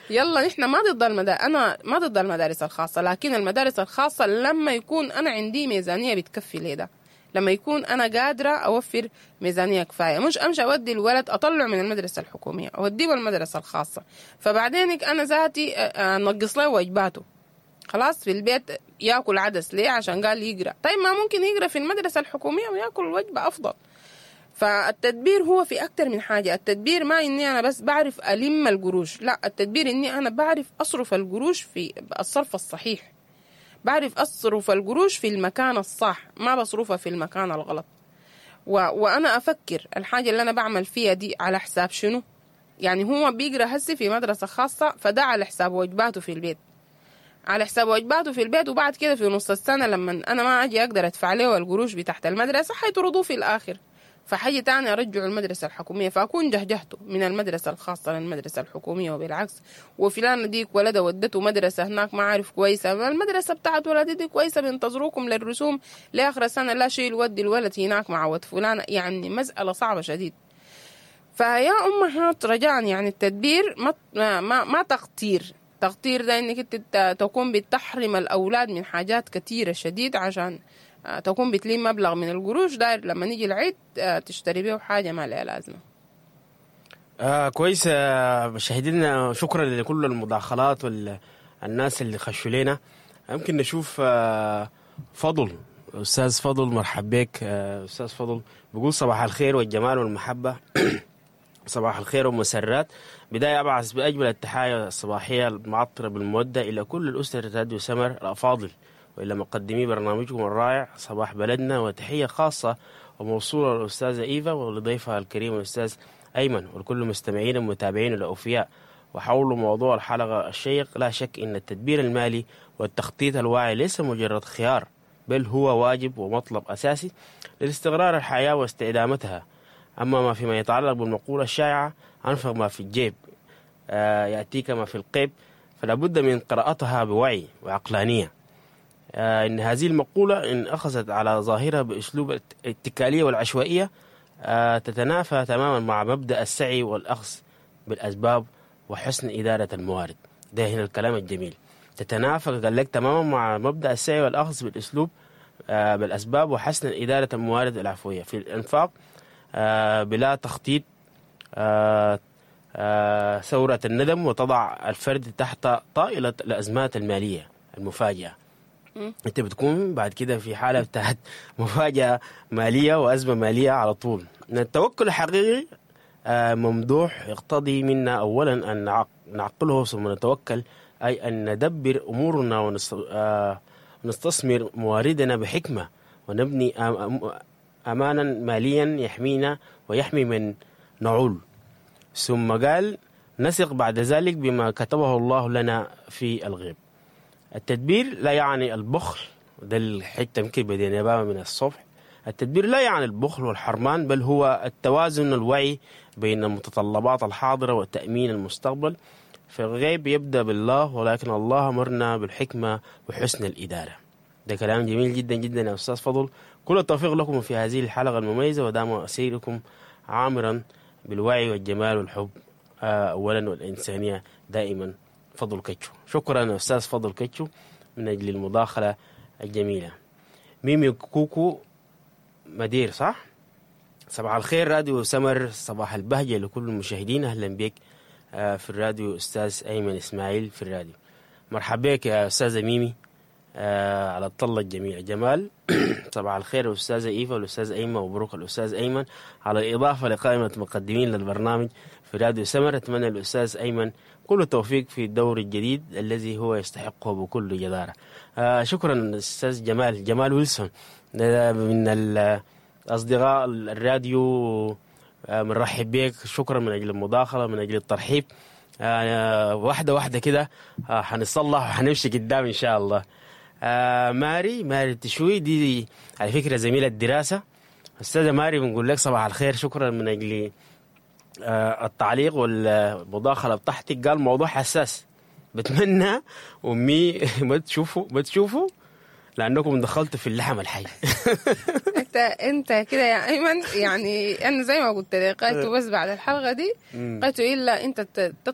يلا نحن ما ضد المدارس، انا ما ضد المدارس الخاصة، لكن المدارس الخاصة لما يكون انا عندي ميزانية بتكفي لي ده، لما يكون انا قادرة اوفر ميزانية كفاية، مش امشي اودي الولد اطلعه من المدرسة الحكومية اوديه المدرسة الخاصة، فبعدين انا ذاتي انقص له وجباته. خلاص في البيت ياكل عدس ليه؟ عشان قال يقرا. طيب ما ممكن يقرا في المدرسة الحكومية وياكل وجبة افضل. فالتدبير هو في اكتر من حاجة. التدبير ما اني انا بس بعرف الم القروش، لا، التدبير اني انا بعرف اصرف القروش في الصرف الصحيح، بعرف اصرف القروش في المكان الصح، ما بصرفها في المكان الغلط. وانا افكر الحاجة اللي انا بعمل فيها دي على حساب شنو. يعني هو بيقرا هسي في مدرسه خاصة، فده على حساب وجباته في البيت، على حساب وجباته في البيت، وبعد كده في نص السنة لما انا ما اجي اقدر ادفع له القروش بتاعت المدرسة حيطردوه في الاخر، فحاجة تاني ارجعه المدرسة الحكومية، فاكون جهجهته من المدرسة الخاصة للمدرسة الحكومية وبالعكس. وفلان ديك ولده ودته مدرسة هناك ما عارف كويسة، المدرسة بتاعت ولدي دي كويسة، بينتظروكم للرسوم لاخر السنة، لا شيل ودي الولد هناك مع ود فلانة. يعني مسألة صعبة شديد. فيا امهات رجاء، يعني التدبير ما ما ما تقتير. تقتير ده انك انت تكون بتحرم الاولاد من حاجات كثيرة شديد عشان تكون بتلم مبلغ من القروش داير لما نيجي العيد تشتري بيه حاجة ما لها لازمه. كويس. مشاهدينا شكرا لكل المداخلات والناس اللي خشوا لنا. يمكن نشوف فضل، استاذ فضل، مرحب بك. استاذ فضل بيقول صباح الخير والجمال والمحبة، صباح الخير والمسرات. بداية أبعث بأجمل التحايا الصباحية المعطرة بالمودة إلى كل الأسرة راديو سمر الأفاضل، وإلى مقدمي برنامجكم الرائع صباح بلدنا، وتحية خاصة وموصولة للأستاذة إيفا ولضيفها الكريم الأستاذ أيمن ولكل المستمعين والمتابعين الأوفياء. وحول موضوع الحلقة الشيق، لا شك أن التدبير المالي والتخطيط الواعي ليس مجرد خيار، بل هو واجب ومطلب أساسي لاستقرار الحياة واستدامتها. أما ما فيما يتعلق بالمقولة الشائعة أنفق ما في الجيب يأتيك ما في القيب، فلا بد من قراءتها بوعي وعقلانية. إن هذه المقولة إن أخذت على ظاهرها بأسلوب الاتكالية والعشوائية تتنافى تماما مع مبدأ السعي والأخذ بالأسباب وحسن إدارة الموارد. ده هنا الكلام الجميل، تتنافى قال لك تماما مع مبدأ السعي والأخذ بالأسلوب بالأسباب وحسن إدارة الموارد العفوية في الإنفاق بلا تخطيط ثورة الندم، وتضع الفرد تحت طائلة الأزمات المالية المفاجئة. انت بتكون بعد كده في حالة بتاعت مفاجأة مالية وأزمة مالية على طول. التوكل الحقيقي ممدوح يقتضي منا أولا أن نعقله ثم نتوكل، أي أن ندبر أمورنا ونستثمر مواردنا بحكمة، ونبني أمانا ماليا يحمينا ويحمي من نعول. ثم قال نثق بعد ذلك بما كتبه الله لنا في الغيب. التدبير لا يعني البخل، ده الحتة يمكن بدينا بها من الصبح. التدبير لا يعني البخل والحرمان، بل هو التوازن الوعي بين المتطلبات الحاضرة وتأمين المستقبل. فالغيب يبدأ بالله، ولكن الله أمرنا بالحكمة وحسن الإدارة. ده كلام جميل جدا جدا يا أستاذ فضل. كل التوفيق لكم في هذه الحلقة المميزة، ودام سيركم عامرا بالوعي والجمال والحب أولا والإنسانية دائما. فضل كتشو، شكرا يا أستاذ فضل كتشو من أجل المداخلة الجميلة. ميمي كوكو مدير، صح؟ صباح الخير راديو سمر، صباح البهجة لكل المشاهدين. أهلا بك في الراديو أستاذ أيمن إسماعيل في الراديو. مرحبا بك يا أستاذة ميمي على الطلة الجميلة. جمال صباح الخير الأستاذة إيفا والأستاذ أيمن، ومبروك الأستاذ أيمن على الإضافة لقائمة مقدمين للبرنامج في راديو سمر. أتمنى الأستاذ أيمن كل التوفيق في الدور الجديد الذي هو يستحقه بكل جدارة. شكرا أستاذ جمال، جمال ويلسون من الأصدقاء الراديو، بنرحب بك. شكرا من أجل المداخلة، من أجل الترحيب. واحدة واحدة كده حنصلح وحنمشي قدام إن شاء الله. ماري تشوي دي على فكرة زميلة الدراسة. أستاذة ماري بنقول لك صباح الخير، شكرا من أجل التعليق والمداخلة بتاعتك. قال موضوع حساس، بتمنى أمي ما تشوفوا لأنكم دخلتوا في اللحم الحي. انت كده يا ايمن، يعني انا زي ما قلت لك قالت بس بعد الحلقة دي قالت الا انت تطلع